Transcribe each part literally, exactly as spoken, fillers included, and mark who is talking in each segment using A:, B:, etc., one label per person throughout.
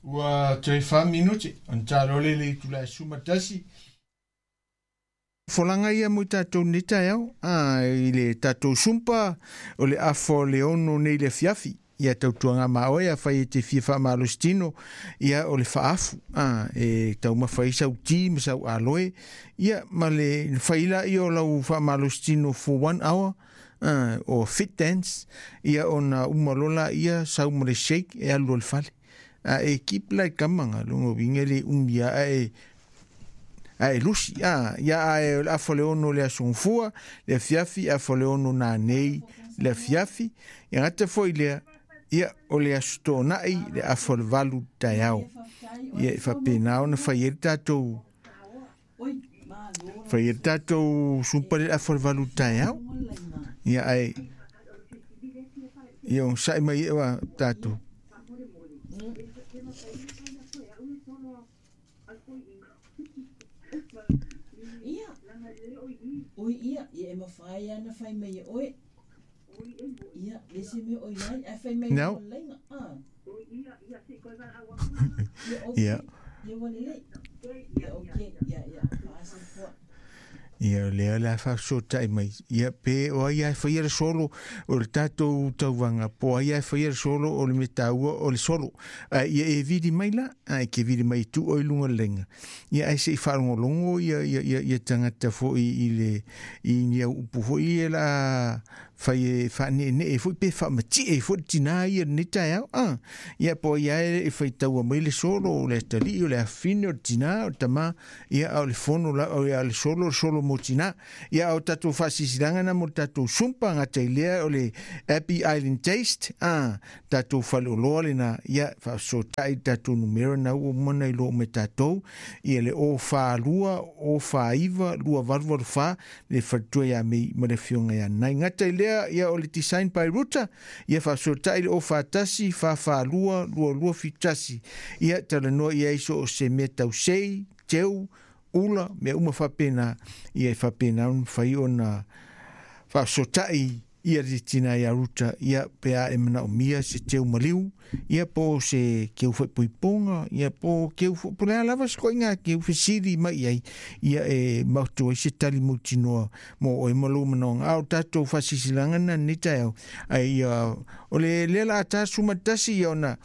A: Ua toe fa minuti ona talo le le itula e sumatasi. Folanga ia mo tatou nei taeao a i le tatou sumpa o le afo le ono nei le fiafi ia tautuaga maoe a fai e te fia faamalositino ia o le faafu a e taumafai sau ti ma sau aloe ia ma le faila ia o lau faamalositino for one hour uh, o fit dance ia ona uma lola ia sau ma le shake e alu o le fale a e keep like kamanga longo winga le umia a e a e lusi a ia a e afo le ono le asongfua le fiafi afo le ono na nei le fiafi ia gata foi lea ia o le aso toonai le afo le valu taeao ia e faapena ona fai ai le tatou fai ai le tatou sumpa le afo le valu taeao ia ai ia o sai mai e wa tatou
B: Ia, oi ia, ia e mawhai ana whai mai e oe. Ia, le se mea oi ai, a whai mai
A: No.
B: o leinga. Ah.
A: Ia.
B: Ia, ia wale lei. Ia, okay, ia, ia, whaasa fua.
A: Ia lea le faasotai mai ia pe o ai e faia le solo o le tatou tauvaga po ai e faia le solo o le metaua o le solo a ia e vili mai la a e ke vili mai tu o i luga o le laina ia ai se i faalogologo ia ia ia ia tagata fo'i i le i ni au upu fo'i ia la fai e faaneenee fo'i pe faamati'e fo'i le tinā ia lenei taeao a ia po ia e faitaua mai le solo o le atalii o le afine o le tinā o le tamā ia a o le fono la o le solo o le solo mo tinā ia o tatou faasisilaga na mo le tatou sumpa gata i lea o le Happy Island Taste a tatou faleoloa lena ia faasota'i tatou numera na ua uma ona iloa me tatou ia le o falua o faiva lua valu valu fa le faletua ia mei ma le afioga ia nai gata i lea ia o le Design by Ruta ia faasota'i le o fatasi fa falua lua lua fitasi ia talanoa ia iso o se mea tausei teu ula mea uma faapena ia e faapena ona mafai ona faasota'i ia le tina ia Ruta ia pe a e manaomia se teu maliu ia po se keu faaipoipoga ia po keu po le a lava se koiga keu fesili mai ai ia e maoto ai se tali mautinoa mo oe ma lou manaoga a o tatou faasisilaga na lenei taeao ai ia o le lea la tasumatasi ia ona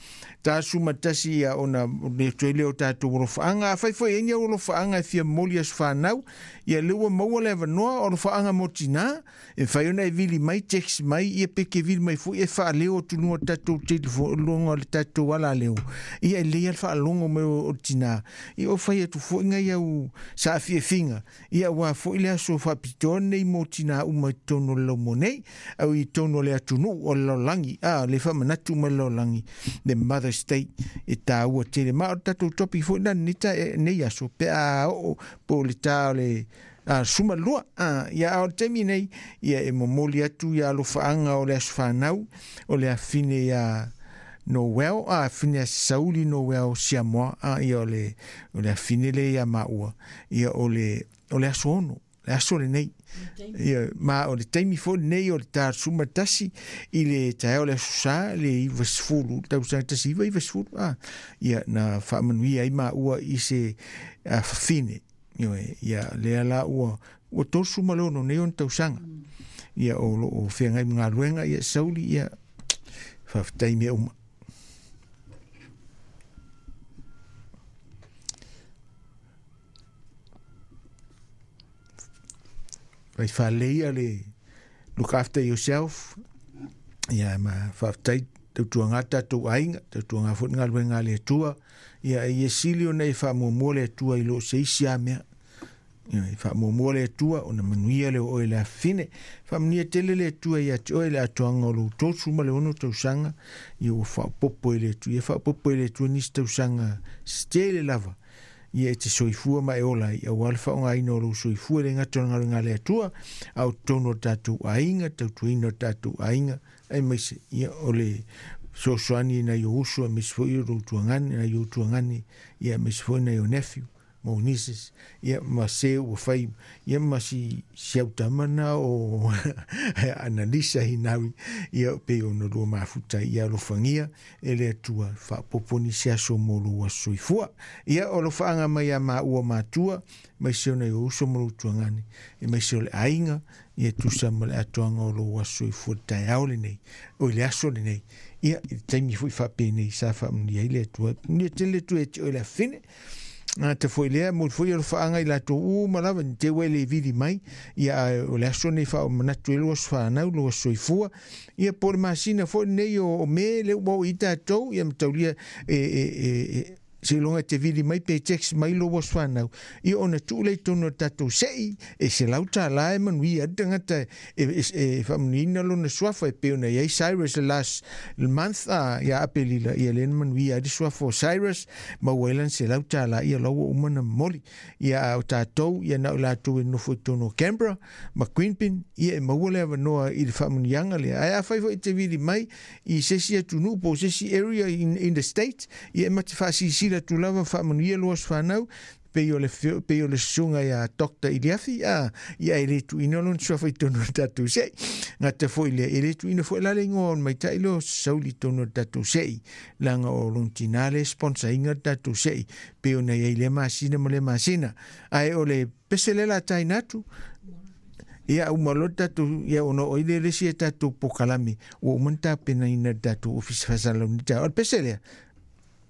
A: tasumatasi ia ona le toe lea o tatou alofaaga afai foi ai ni au alofaaga e fia momoli aso fanau ia lea ua maua le avanoa o alofaaga mo tinā e mafai ona e vili mai text mai ia pe ke vili mai foi e faaleo atu luga o le tatou telefoni luga o le tatou alaleo ia e lelei a le faalogo mai o le tinā ia o fai atu foi nai au saafiafiga ia ua foi le aso faapitoa lenei mo tinā uma i totonu o le laumo nei au i totonu o le atunuu o le lalolagi a le faamanatu ma le lalolagi le Mother's Day e tāua tele ma o le tatou topic foi la lenei nei aso pe a oo po o le tā o le a suma lua a ia a o le taimi nei ia e momoli atu ia alofaaga o le aso fanau o le afine ia Noel a afine a Sauli Noel Siamoa a ia o le o le afine le ia maua ia o le o le aso ono le aso lenei ia ma o le taimi foi lenei o le tasuma tasi i le taeao le aso sa le iva sefulu tausaga tasi iva iva sefulu a ia na faamanuia ai maua i se fafine ia lea la ua ua tosu ma le ono nei ona tausaga ia o loo feagai ma galuega ia Sauli ia faafetai mea uma. Fai faalelei le look after yourself ia ma faafetai tautuaga tatou aiga tautuaga foi le galuega a le Atua ia ia sili ona e faamuamua le Atua i loo se isi a mea ia e faamuamua le Atua ona manuia le o oe le afine faamanuia tele le Atua ia te oe le atoaga o lou tosu ma le ono tausaga ia ua faaopopo e le Atua ia faaopopo e le Atua nisi tausaga se tele lava ia e te soifua ma e ola ai auā le faaaogaina o lou soifua e le gata o le galuega a le Atua a o totonu o tatou aiga tautuaina o tatou aiga aemaise ia o le fesoasoani i nai ou uso aemaise foi o lou tuagane nai ou tuagane ia aemaise foi nai ou nephew mo nieces ia ma se ua fai ia ma si si autamana o Analisa Hinawi ia pe ona lua mafuta ia alofagia e le Atua faapopo nisi aso mo lou aso soifua. Ia o alofaaga mai ia maua matua mai se ona i uso ma lou tuagane e mai se o le aiga ia tusa ma le atoaga o lou aso soifua le taeao lenei o i le aso lenei ia i le taimi fo'i faapenei sa faamanuia ai le Atua manuia tele le Atua e te oe le afine gata foi lea mo foi alofaaga i latou uma lava ni te ua e le vili mai ia ae o le aso nei faamanatu ai lou aso fanau lou aso soifua ia po o le masina foi lenei o, o Me le ua oo i tatou ia mataulia e, e, e, e seiloga e te vili mai pe text mai lou aso fanau ia ona tuu lea i totonu o le tatou se'i e selau tālā e manuia ai le tagata e, e, e faamanuiaina lona suafa e pei ona iai Cyrus le last month a ia Apelila ia lea na manuia ai le suafa o Cyrus maua ai lana selau tālā ia la ua uma na momoli ia a o tatou ia na o latou e nofo i totonu o Canberra ma Queanbeyan ia e maua le avanoa i le faamanuiaga lea ae afai foi e te vili mai i se isi atunuu po o se isi area in, in the state ia e ma te faasilasila atu lava faamanuia lou aso fanau pei o le pei o le susuga ia Doctor Iliafi a ia e le tuuina lona suafa i totonu o le tatou se'i gata foi lea e le tuuina foi la le igoa o le maita'i lea o Sauli i totonu o le tatou se'i leaga o lona tinā le sponsor ina le tatou se'i pei ona iai lea masina ma lea masina ae o le pese lea la taina atu ia uma loa le tatou ia ona o ai lea le isi e tatou pokalame ua uma na tapenaina le tatou ofisa faasalalau taeao o le pese lea.